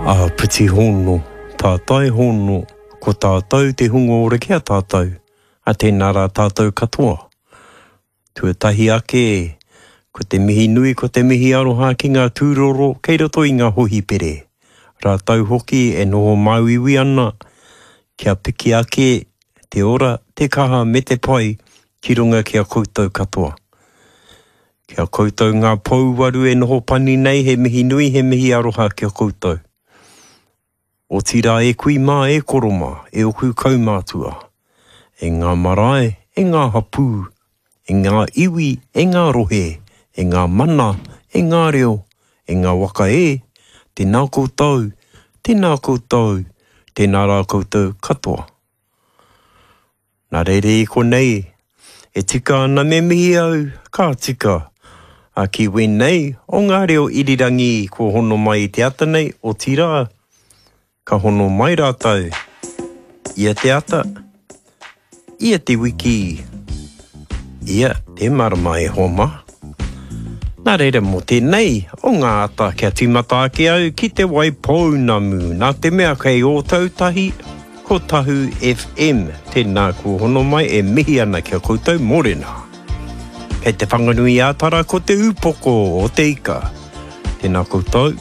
Āpiti hono, tātai hono, ko tātou te hunga ora ki a tātou, a tēnā rā tātou katoa. Tuatahi ake, ko te mihi nui, ko te mihi aroha ki ngā tūroro kei roto i ngā hōhipere, rātou hoki e noho māuiui ana kia piki ake te ora, te kaha me te pai ki runga ki a koutou katoa. Ki a koutou ngā pouwaru e noho pani nei, he mihi nui, he mihi aroha ki a koutou. Otirā e kui mā, e koro mā, e oku kaumātua, e ngā marae, e ngā hapū, e ngā iwi, e ngā rohe, e ngā mana, e ngā reo, e ngā waka e, tēnā koutou, tēnā koutou, tēnā rā koutou katoa. Nā reira i konei, e tika ana me mihi au, ka tika, a ki wēnei o ngā reo irirangi kua hono mai i te ata nei, otirā, ka hono mai rātou ia te ata, ia te wiki, ia te marama e hoa mā. Nā reira mō tēnei o ngā ata kia tīmata ake au ki Te Waipounamu, nā te mea kei Ōtautahi, ko Tahu FM, tēnā kua hono mai e mihi ana ki a koutou mōrena. Kei Te Whanganui-ā-Tara ko Te Ūpoko o Te Ika, tēnā koutou.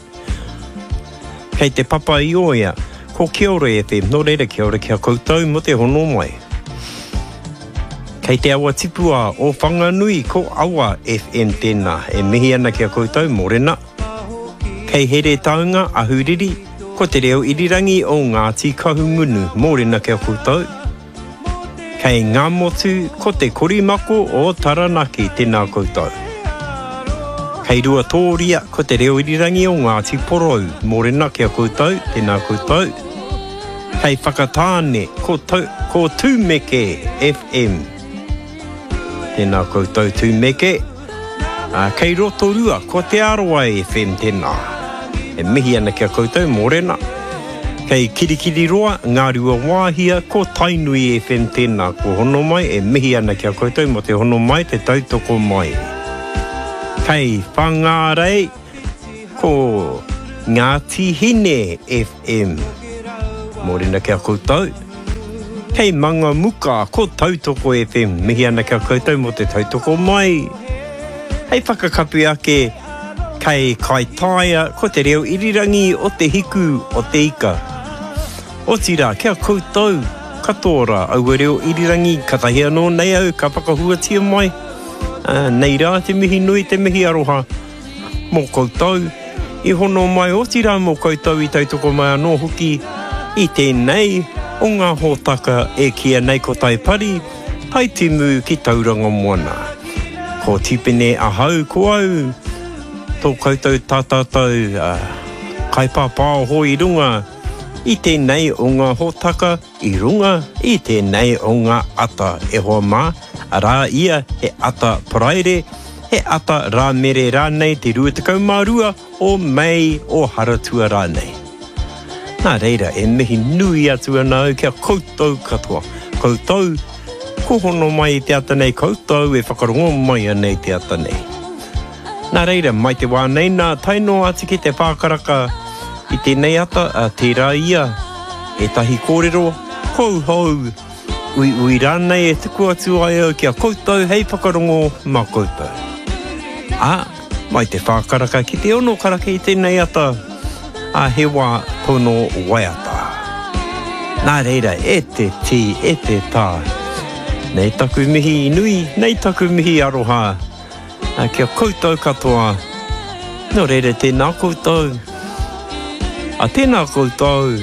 Kei Te Papa-i-Oea, ko Kiore FM, nō reira kia ora ki a koutou mō te hono mai. Kei te awa tipua o Whanganui ko Awa FM tēnā e mihi ana ki a koutou, mōrena. Kei Heretaunga, Ahuriri, ko te reo irirangi o Ngāti Kahungunu, mōrena ki a koutou. Kei Ngāmotu, ko te korimako o Taranaki, tēnā koutou. Kei Ruatōria, ko te reo irirangi o Ngāti Porou, mōrena ki a koutou, tēnā koutou. Kei Whakatāne, ko, ko Tūmeke FM. Tēnā koutou Tūmeke. Ā, kei Rotorua, ko Te Arawa FM tēnā. E mihi ana ki a koutou, mōrena. Kei Kirikiriroa, Ngāruawāhia, ko Tainui FM tēnā. Kua hono mai, e mihi ana ki a koutou mō te hono mai, te tautoko mai. Kei Whangārei, Ko Ngāti Hine FM. Mōrena ki a koutou. Kei Mangamuka, ko Tautoko FM. Mihi ana ki a koutou mō te tautoko mai. Hei whakakapi ake, kei Kaitaia, ko te reo irirangi o te hiku o te ika. Otirā, ki a koutou katoa rā aua reo irirangi, katahi anō nei au ka whakahuatia mai. Nei rā te mihi nui, te mihi aroha. Mō koutou i hono mai, otirā mō koutou i tautoko mai anō hoki i tēnei o ngā hōtaka e kīia nei ko Tai Pari, Tai Timu ki Tauranga Moana. Ko Tipene ahau, ko au tō koutou tā tātou kaipāpāoho i runga i tēnei o ngā hōtaka, i runga i tēnei o ngā ata e hoa mā, arā ia he ata Paraire, he ata Rāmere rānei te 22 o Mei o Haratua rānei. Nā reira e mihi nui atu ana au ki a koutou katoa, koutou ko hono mai i te ata nei, koutou e whakarongo mai ana i te ata nei. Nā reira, mai te wā nei nā, tae noa atu ki te whākaraka i tēnei ata, ā, tērā ia ētahi kōrero kouhou, uiui rānei e tuku atu ai au ki a koutou hei whakarongo mā koutou. Ā, mai te whākaraka ki te ono karaka i tēnei ata, ā, he wā tono waiata. Nā reira, e te tī, e te tā, nei taku mihi nui, nei taku mihi aroha, Ā, ki a koutou katoa, nō reira tēnā koutou, ā, tēnā koutou.